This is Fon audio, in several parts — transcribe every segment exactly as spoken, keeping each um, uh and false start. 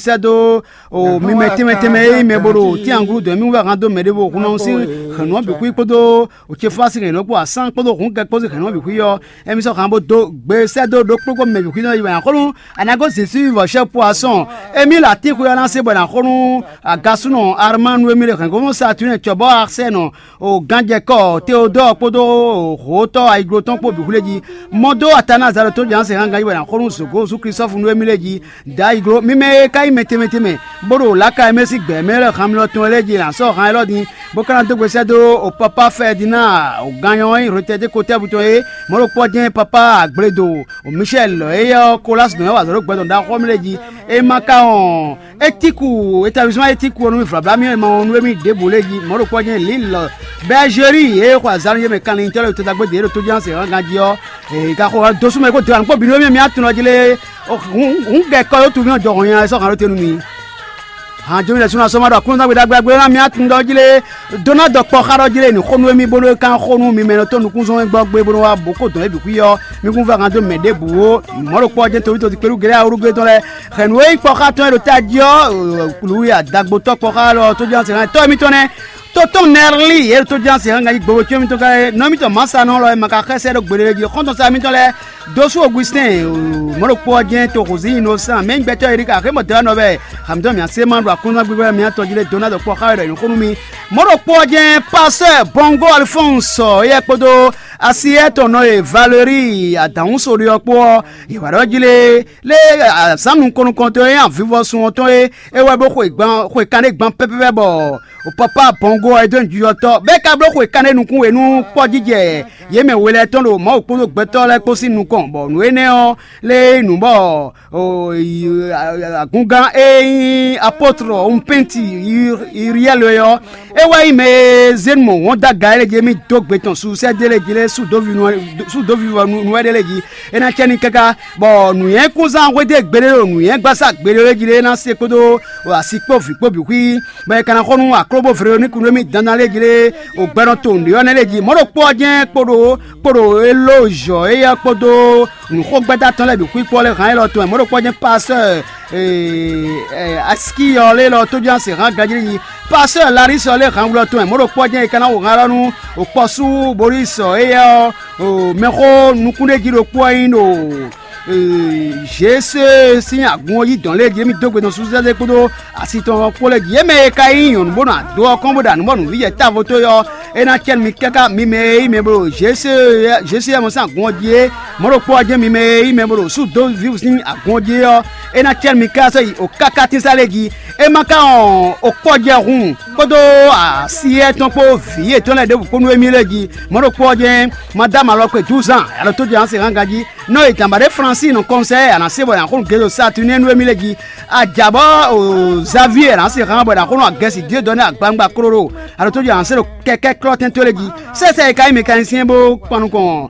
sɛ́ dó o mi mɛ tɛnmɛ tɛnmɛ e nyí mɛ bo ɖo tínyaŋgúrú dɔn mì wú wɛ han dó mɛ ɖěvo hun ɔ́ sín hɛ̌nnu ɔ́ bǐ xwí kpódó o ce fá sín hɛ̌nnu ɔ́ kpó asán kpódó hǔn kɛ kpó sín hɛ̌nnu ɔ́ bǐ xwí ɔ́, émí sɔ́ han bó dó gbe sɛ́ dó ɖokpókpó mɛ bǐ xwí nɔ yi wɛ axɔ́nú Anago Zisí vɔ̌ poisson émí lɔ atín xwe ɔ́ ná se bɔ è nǎ xo nú agasúnɔ Armanu e mì ɖe hɛ̌ngbɔ́mɔ Satúnɛ cɔbɔ́ Arsɛ́nɔ o ganjɛkɔ Teodɔ́ɔ kpódó hǒtɔ́ ayiglo tɔn kpó bǐ xwlé jí. Mɔ dó Atanazalɔtɔn Jǎnse hán ganjí bɔ è nǎ xo nú zǒgó Zú Klísɔ́fu nú émí lɛ́ɛ jí. Dǎ yi gló. Mi mɛ e ka nyí mɛ tɛnmɛ tɛnmɛ, bó ɖo lǎka e mɛ sín gbɛ̌ mɛ lɛ́ɛ han mlɔ tɔn lɛ́ɛ jí è nǎ sɔ́ han élɔ́ din, bó ka ná dó gbe sɛ́ dó o Papá Fɛdinaa o gannyɔ e nyí Rotɛdé Kotɛ́bu tɔn é, mɔ̌ ɖo kpɔ́ jɛ́n Papá Agbledo o Micɛ́li lɔ̌ éyɛ́ ɔ́, Kolási nɔ é wa azɔ̌ ɖó gbɛ tɔn ɖaxó ɔ́ mɛ lɛ́ɛ jí. É ma ka wɔn Étiku, établisman Étiku ɔ́ nú mì vlablá mì e ma wɔn nú émí ɖěbǔ lɛ́ɛ jí, mɔ̌ ɖo kpɔ́ jɛ́n Lǐlɔ Bɛ́zeli e xɔ azǎn nú yě mɛ kanlin tɔ́ lɛ́ɛ ɖo todagbe ɖě ɖo tójánse hɔn ganjí ɔ́, è ka xo dó sú mɛ kó dó anukpó bǐ nú émí mì tunɔ jí lé. Hǔn gɛ kɔ yó tunwun jɔ hɔn nya sɔ́ hǎn ɖó te nú mi. Hǎn jó mi lɛ súnɔ sɔ́ ma ɖɔ Aklúnɔzán gbe ɖagbe ɖagbe ná mi atundɔ jí lé. Dó ná dɔ kpɔ xá ɖɔ jí lé ní xó nú émí bónú é kán xó nú mi mɛ nɔ tó nukúnzɔ́n gbɔ gbé bónú wá bó kó dɔn é bǐ xwí ɔ́, mi kún vɛ́ hǎn dó mɛ ɖěbǔ ó. Mɔ̌ ɖo kpɔ́ jɛ́n toví tɔn ti kpéɖú Gɛlɛ́ awúrúgbé tɔn lɛ́ɛ hɛn nǔ e nyí kpɔ́ xá tɔn e ɖo tají ɔ́, Luwi adagbotɔ́ kpɔ́ xá lɔ tójúnásɛnxá tɔ́ émítɔn nɛ́. Tótɔn Nɛrli e ɖo tójúnásɛnxá ganjí gbogbo có émítɔn ká é, nɔ émítɔn Mǎsanɔ lɔ e ma ka xɛ́ sɛ́ ɖó gbeɖé jí xɔ́ntɔn sá émítɔn lɛ́ɛ, Dosú Ogwisɛ́n, mɔ̌ ɖokpó ɔ́ jɛ́n toxo zǐn Inosán, mɛ nyí gbɛtɔ́ e ɖi ka xé mɔ dɔ̌ nɔ vɛ. Hamdɔ mǐ asé ma ɖo akɔ́nzán gbígbá mǐtɔn jí lé dó ná dɔ kpɔ́ xá wɛ ɖɔ nyǐxó nú mì. Mɔ̌ ɖokpó ɔ́ jɛ́n Pastɔ́ Bɔngó Alfɔ́nsɔ éyɛ́ kpódó Asiyɛ́ tɔn nɔ e Valeriyi adǎhúnso ɖe ɔ́ kpó ɔ́, yě wǎ ɖɔ jí lé lé azǎn nukɔn nukɔntɔn e nyí avivɔsun ɔ́ tɔn é, é wɛ bó xwe gban xwe kanɖé gban pɛ́pɛ́pɛ́ bɔ Pɔpá Bɔngó ɔ́, é dó nyǐjɔ́tɔ́, bɔ é ka bló xwe kanɖé nukún we nú kpɔ́jijɛ yě mɛ we lɛ́ɛ tɔn ɖo Mawu kpódó gbɛtɔ́ lɛ́ɛ kpó sín nukɔn, bɔ nǔ énɛ́ ɔ́ lé nyí nǔ bɔ agúngán e nyí apɔ́tlɔ Umpɛ́nti Iriyɛ́li é ɔ́, é wɛ nyí mɛ e zé nú mɔ̌ wɔn dó aga é lɛ́ɛ jí émí dó gbe tɔn Susɛ́dé lɛ́ɛ jí lé sú dó vivɔ nú wɛ ɖé lɛ́ɛ jí. É ná cɛ ní káká, bɔ nǔnywɛ́kúnzán hwedó e gbeɖé ɖo nǔnywɛ́gbasá gbeɖé lɛ́ɛ jí lé ná se kpódó asi kpó vǐ kpó bǐ xwí, bɔ è ka ná xɔ nú aklóbó Vlewoníku nú émí dandan lɛ́ɛ jí lé o gbɛnɔ to nǔɖé ɔ́ nɛ́ lɛ́ɛ jí. Mɔ̌ ɖokpó ɔ́ jɛ́n kpo ɖo kpo ɖo élózhɔ éyɛ́ kpódó nǔxogbɛ́dá tɔn lɛ́ɛ bǐ xwíkpɔ́ lɛ́ɛ hán élɔ́ tɔn wɛ. Mɔ̌ ɖokpó ɔ́ jɛ́n pasɛ́ Asikiyɔ lɛ́ɛ lɔ tójúnásɛnxán ganjí jí. Pasɛ́ Larísɔ lɛ́ɛ hán wlɔ tɔn wɛ. Mɔ̌ ɖokpó ɔ́ jɛ́n è ka ná xo hán élɔ́ nú o kpɔ́sú Bolísɔ éyɛ́ ɔ́ o mɛxó nukúnɖéjí ɖokpó ɔ́ nyí ɖo Zesée sín agun ɔ́ yí dɔn lɛ́ɛ jí émí dó gbe nɔ Susɛ́dé kpódó asi tɔn ɔ́ kpó lɛ́ɛ jí. Yě mɛ e ka nyí nyɔ̌nu bó nɔ ado ɔ́ kɔn bó ɖo anǔ bɔ nǔvǐjɛ távo tó ɔ́, é ná cɛ nú mi káká mi mɛ e nyí mɛ bó ɖo Zesée sín agun ɔ́ jí é. Mɔ̌ ɖokpó ɔ́ jɛ́n mi mɛ e nyí mɛ bó ɖo Súdovívu sín agun ɔ́ jí é ɔ́, é ná cɛ nú mi káká sɔ́ yi o káká tínsá lɛ́ɛ jí. É ma ka wɔn o kpɔ́jɛhun kpódó así étɔn kpó vǐ yětɔn lɛ́ɛ ɖěbǔ kpó nú émí lɛ́ɛ jí. Mɔ̌ ɖokpó ɔ́ jɛ́n Madámu alɔkpe Juzan, alɔ tó jɛ Anse hán ganjí, nɔ e dǎnbá ɖé Flánsi nɔ kɔnsɛ́ a nǎ se bɔ è nǎ xo nú Gezo Saturnɛ́ nú émí lɛ́ɛ jí. Ajǎ bɔ Zavíe a nǎ se hán bɔ è nǎ xo nú Agɛsi Diedɔ́ni agbawungba klo ɖo, alɔ tó jɛ Anse ɖo kɛkɛ́ klɔ́ tɛn tó lɛ́ɛ jí. Sɛ́sɛ e ka nyí mɛkanisiyɛn bó kpan nukɔn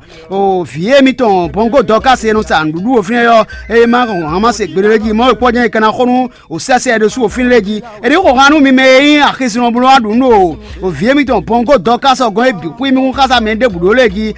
vǐ émítɔn Bɔngó Dɔkási e nɔ sa nǔɖuɖu wo fínɛ́ ɔ́, é ma hɔn hǎn ma se gbeɖé lɛ́ɛ jí. Mɔ̌ e kpɔ́ jɛ́n è ka ná xo nú o sɛ́sɛ ɖésú o fínɛ́ lɛ́ɛ jí. È nǐ xo han nú mi mɛ e nyí axisínɔ bó nɔ wá ɖu nǔ ɖo o vǐ émítɔn Bɔngó Dɔkási ɔ́ gɔ́n é bǐ xwí mí xá mɛ ɖěbǔ ɖó lɛ́ɛ jí.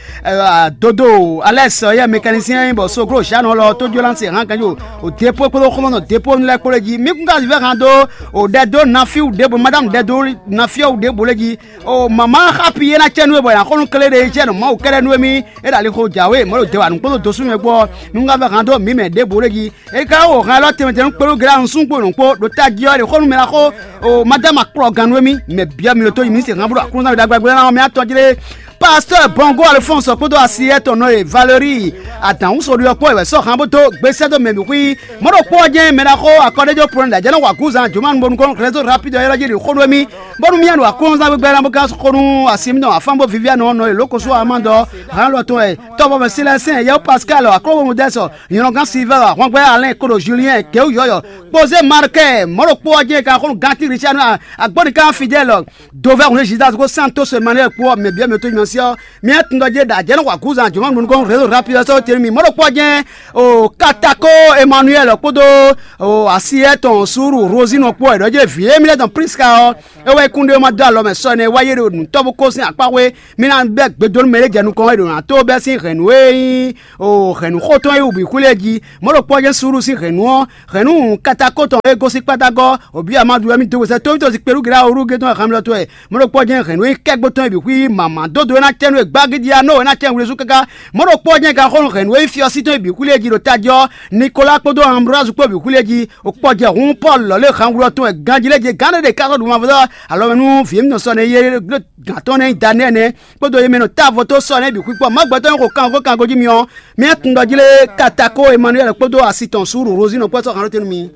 Dodo Alɛ́si ɔ́ yɛ mɛkanisiyɛn nyí bɔ Sogló Zǎnu lɔ tó jó lánse hán kanjo o Depo kpódó xɔmɔnɔ Depo lɛ́ɛ kpó lɛ́ɛ jí. Mí kún ka vívɛ́ han dó o ɖɛdó Nafiwu ɖěbǔ, Madámu ɖɛdó Nafiwu ɖěbǔ lɛ́ɛ jí. O mama xapi e ná cɛ nú we bɔ è nǎ xɔ nú kléɖéjɛ́nɔ Mawu kɛ́ɖɛ́ nú émí é ɖo alixo jǎwe mɔ̌ ɖo dɛwǎnu kpódó dosúmɛ kpó ɔ́, nú un ka vɛ́ han dó mǐ mɛ ɖěbǔ lɛ́ɛ jí. É ka wá wǒ han élɔ́ tɛnmɛ tɛnmɛ kpéɖó Gɛlɛ́anu súngbó nǔkpó ɖo tají ɔ́, è ɖe xó nú mɛ ná xó o Madámu akplɔ́gán nú émí, mɛ byɔ́ mi ɖo tó yi mǐ se han bó ɖo Aklúnɔzán we ɖagbe ɖagbe ná mɛ atɔ́ jí lé. Pastɔ́ Bɔngó Alfɔ́nsɔ kpódó asi étɔn nɔ e Valeriyi adǎhúnso ɖi ɔ́ kpó wɛ sɔ́ han bó dó gbe sɛ́ dó mɛ bǐ xwí. Mɔ̌ ɖokpó ɔ́ jɛ́n mɛ ná xó akɔ́ɖéjó Plɔ́n ɖo ajɛ̌ nɔ wa gǔzan Jomanu bónú kɔn Xlɛ́zó Rapídi ɔ́ ylɔ́ jí ɖi xó nú émí, bónú mì nɔ aklúnɔzán gbígbá ná bó ka xo nú asi émítɔn afán bó Vivianu ɔ́ nɔ e lǒ ko sú Amándɔ hán lɔ tɔn wɛ tɔ́vɔ́mɛ Silɛsɛ́n yɛ́wú Paskáli aklóhomudɛ́sɔ nyɔ̌nɔgán Silivɛ́ɛ ahwangbɛ́ Alɛ́n kpóɖo Juliyɛ́n kɛwú yɔ̌yɔ́ kpozé Markɛ́ɛ mɔ̌ ɖokpó ɔ́ jɛ́n è ka xo nú Gati Richanu agbɔ́nikán Fidɛ́lɔ dovɛ́ hun Zidasi kpó Santosi Emanuyɛ́li kpó ɔ́ mɛ byɔ́ mɛ tó nyɔ ɔ́, mía tun ɖɔ jɛ ɖo ajɛ̌ nɔ xɔ agǔzan jǒnɔ nukɔn rézo rapide sɔ́ tɛ́nú mi mɔ̌ ɖokpó ɔ́ jɛ́n o Katako Emmanuel kpódó o asi etɔn Suru Rosino kpó wɛ ɖɔ jɛ vǐ émí lɛ́ɛ tɔn Priska ɔ́, é wɛ kún ɖé ma dó alɔ mɛ sɔ nɛ́ wá yé ɖo nǔtɔ́ bó kó sín akpá xwé. Mí ná bɛ́ gbe dó nú mɛ ɖé jɛ nukɔn é ɖo nǎ tó bɛ́ sín hɛ̌nnu e nyí o hɛ̌nnu xótɔn e wú bǐ xwlé jí. Mɔ̌ ɖokpó ɔ́ jɛ́n Suru sín hɛ̌nnu ɔ́, hɛ̌nnu Katakó tɔn e gosín kpátágɔ́, o bǐ Amádu wɛ mì dó wezɛ tóvítɔ́ si kpelú gěɖá orú gé tɔn e xamlɔ tɔn wɛ. Mɔ̌ ɖokpó ɔ́ jɛ́n hɛ̌nnu e nyí kɛ́gbó tɔn e bǐ xwí mǎmá dódó e ná cɛ nú e gbágídí anó e ná cɛ wlezú káká. Mɔ̌ ɖokpó ɔ́ jɛ́n ganxɔ́nú hɛ̌nnu e nyí fyɔ́sí tɔn e bǐ xwlé jí ɖo tají ɔ́, Nikolá kpódó Anblázu kpó bǐ xwlé jí. O kpɔ́ jɛ hun Pɔ́lu lɔ̌ lé hangwlɔ tɔn wɛ ganjí lɛ́ɛ jí gán ɖé ɖe ká sɔ́ ɖu mavɔ alɔ mɛ nú vǐ émítɔn sɔ nɛ́ yé gán tɔn nɛ́ nyí Danɛ́ɛ nɛ́ kpódó yé mɛ nɔ tá avɔ tó sɔ nɛ́ bǐ xwíkpɔ. Mɔ̌ gbɛtɔ́ nyí xo kango kango jí myɔ. Mía tun ɖɔ jí lé Katako Emmanuel kpódó asi tɔn Suru Rosino kpó sɔ́ hǎn ɖó te nú mi.